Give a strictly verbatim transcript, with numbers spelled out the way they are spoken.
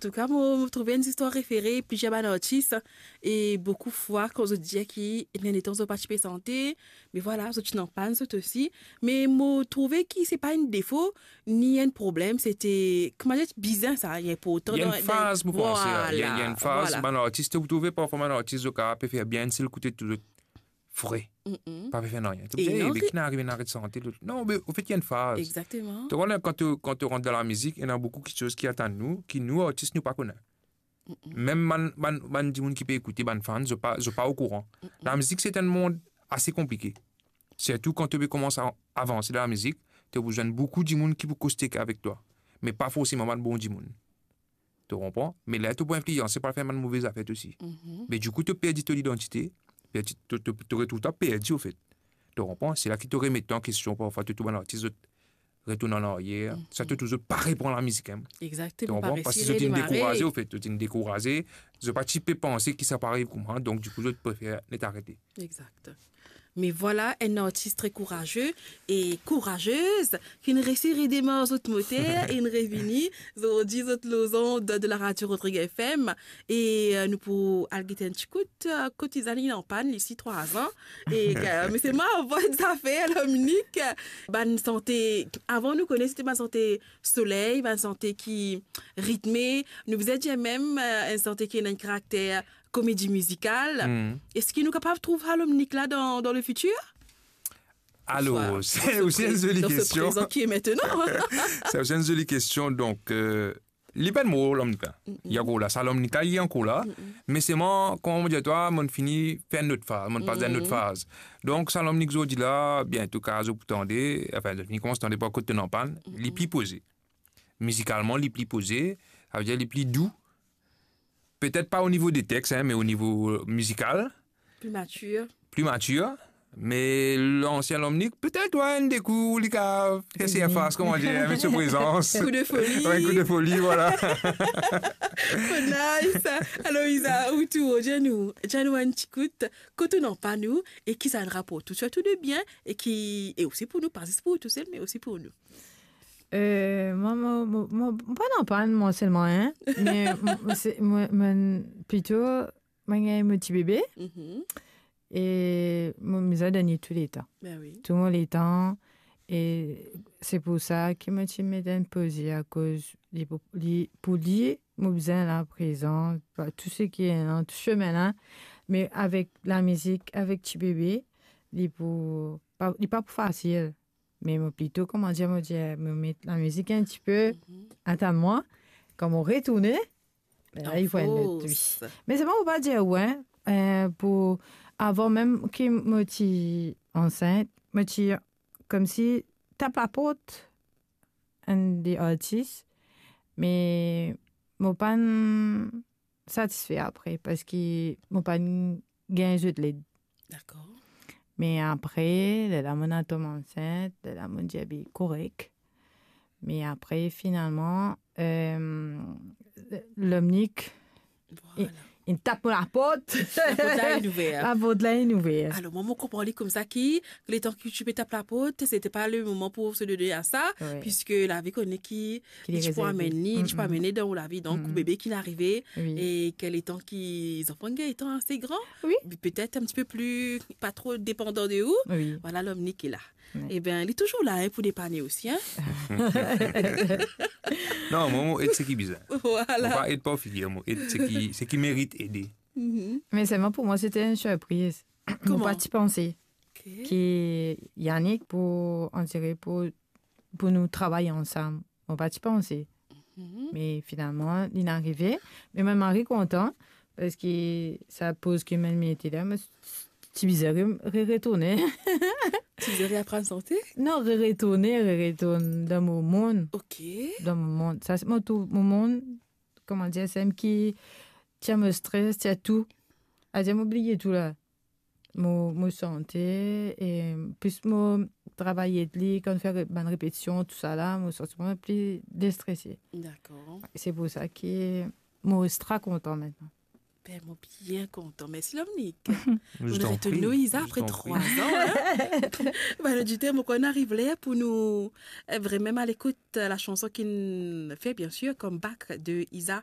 Antouka, mo, mo trouve enn zistwar refere plizier bann artis, e boukou fwa kan zot dir ki ena letan zot pa ti pe sante, me vwala, zot ti ena pann zot osi. Me mo trouve ki se pa enn defo, ni enn problem, se te, kouma dir, bizin sa, li inportan. Li ena enn faz, mo panse, li ena, li ena enn faz, vwala. Bann artis, to trouve parfwa bann artis, zot kapav pe fer bien si zot kote tou zot fre. Mm-mm. Pa pe fer nanye. To dir, "Eh, be ki inn arive, inn aret sante, lot." Non, me anfet, li ena enn faz. Exactement. To konpran, kan to, kan to rant dan lamizik, ena boukou kiksoz ki atann nou, ki nou, artis, nou pa kone. Mm-mm. Mem bann, bann, bann dimoun ki pe ekoute, bann fan, zot pa, zot pa okouran. Mm-mm. Lamizik, se enn mond ase konplike. Sirtou kan to pe koumans a avanse dan lamizik, to pou zwenn boukou dimoun ki pou koste avek twa, me pa forseman bann bon dimoun. To konpran? Me ler to pou inflianse, pa fer bann move zafer osi. Mm-hmm. Me dikou, to perdi to lidantite, perdi, to, to, to retrouv twa perdi, anfet. To konpran? Se la ki to remet twa an kestion, parfwa, to trouv bann artis, zot retourn an aryer, mm-hmm, sa to trouv zot pa repran lamizik, hein. Exactement, to konpran? Parski zot inn dekouraze, anfet, zot inn dekouraze, zot pa ti pe panse ki sa pou ariv koumsa, donk dikou, zot prefer net arete. Exact. Me vwala, enn artis tre kouraze e kourazez, ki'nn resi redemar zot moter e inn revini. Zordi, zot lor zond de la radio Rodrigue F M. E, euh, nou pou al gete enn ti kout, euh, kot Iza, li anpann, li si trwa an. E, euh, me se marvan zafer, Lomnik. Bann sante, avan nou kone, se te bann sante soley, bann sante ki ritme. Nou bizin dir mem, euh, enn sante ki ena enn karakter komedi mizikal. Hmm. Eski nou kapav trouv sa Lomnik la dan, dan lefitir? Alor, se osi enn zoli kestion. Se osi enn zoli kestion. Donk, euh, li pa'nn mor, Lomnik la. Mm-mm. Li ankor la. Sa Lomnik la, li ankor la. Mm-mm. Me selman, kouma mo dir twa, mo'nn fini fer enn lot faz, mo'nn pas dan enn lot faz. Donk, sa Lomnik zordi la, biento kapav zot pou tande, anfin, zot finn koumans tande par kot tonn anpann, li pli poze. Mizikalman, li pli poze, savedir li pli dou. Petet pa o nivo de text, hein, me o nivo mizikal. Pli matir. Pli matir. Me lansien Lomnik, petet, wi, enn de kou, li kapav fer sirfas, kouma dir, met so prezans. Kou de foli. Wi, kou de foli, vwala. Oh, nice. Alor, Iza, ou tou, dir nou, dir nou enn ti kout, kot ou anpann nou, e ki sa inn raport ou, sirtou de bien, e ki, e osi pou nou, pa zis pou ou tousel, me osi pou nou. Euh, mwa, mo, mo, mo, mo pa anpann mwa selman, hein. Me mo, se, mo, mo, plito, mo gagn mo ti bebe. Mhm. E mo bizin donn li tou letan. Ben wi. Tou mo letan. E se pou sa ki mo ti met enn poze, akoz li pou, li, pou li, mo bizin la prezan, pa tou seki ena, tou sime la. Me avek lamizik, avek ti bebe, li pou, pa, li pa pou fasil. Me mo plito, kouma dir, mo dir, mo met lamizik enn tipe, mhm, atann mwa, kan mo retourne, be la, li pou enn lot, wi. Me selman, mo pa dir, wi, euh, pou, avan mem ki mo ti ansint, mo ti koumsi tap laport enn de artis, me mo pa'nn satisfe apre, parski mo pa'nn gagn zot led. Dakor. Me apre, lerla mo'nn al tom ansint, lerla mo'nn dir, be, korek. Me apre, finalman, euh, Lomnik, vwala, inn tap mo laport. Laport la inn ouver. Laport la inn ouver. Alor, mwa, mo konpran li koumsa ki, letan ki ti pe tap laport, se te pa le moman pou se done a sa, wi, piske lavi kone ki ki li ti pou rezerve. Amenn li, ti pou amenn li dan ou lavi. Donk, bebe ki inn arive, wi, e ki letan ki zanfan gagn letan ase gran, wi, petet enn tipe pli, pa tro depandan de ou. Wi. Vwala, Lomnik la. Wi. Eben, li touzour la, hein, pou depann osi, hein. Non, mwa, mo ed seki bizin. Vwala. Mo pa ed par figir, mo ed seki, seki merit ede. Mhm. Me selman pou mwa, se te enn sirpriz. Mo pa ti panse ki Yannick pou, on dirait, pou, pou nou travay ansam. Mo pa ti panse. Mhm. Me finalman, li inn arive. Me mo mari kontan, parski sa poz ki mo'nn mete la, mo ti bizin re, re, retourne. Ti bizin reaprann sante? Non, re, retourne, re, retourn dan mo mond. Ok. Dan mo mond. Sa, se mo tou, mo mond, kouma dir, se mem ki tir mo stres, tir tou. Savedir mo bliye tou la. Mo, mo sante, e plis mo travay ed li, kan fer re-, bann repetision, tousala, mo santi mwa pli destrese. Dakor. Se pou sa ki mo extra kontan aster. Ben, mo bien kontan. Mersi, Lomnik. Je t'en prie, je t'en prie. Nou retrouv nou, Iza, apre trwa an, hein. Ben, loditer, mo krwar inn ariv ler pou nou, eh, vremem al ekout, eh, la chanson ki'nn fer, bien sûr, comeback de Iza.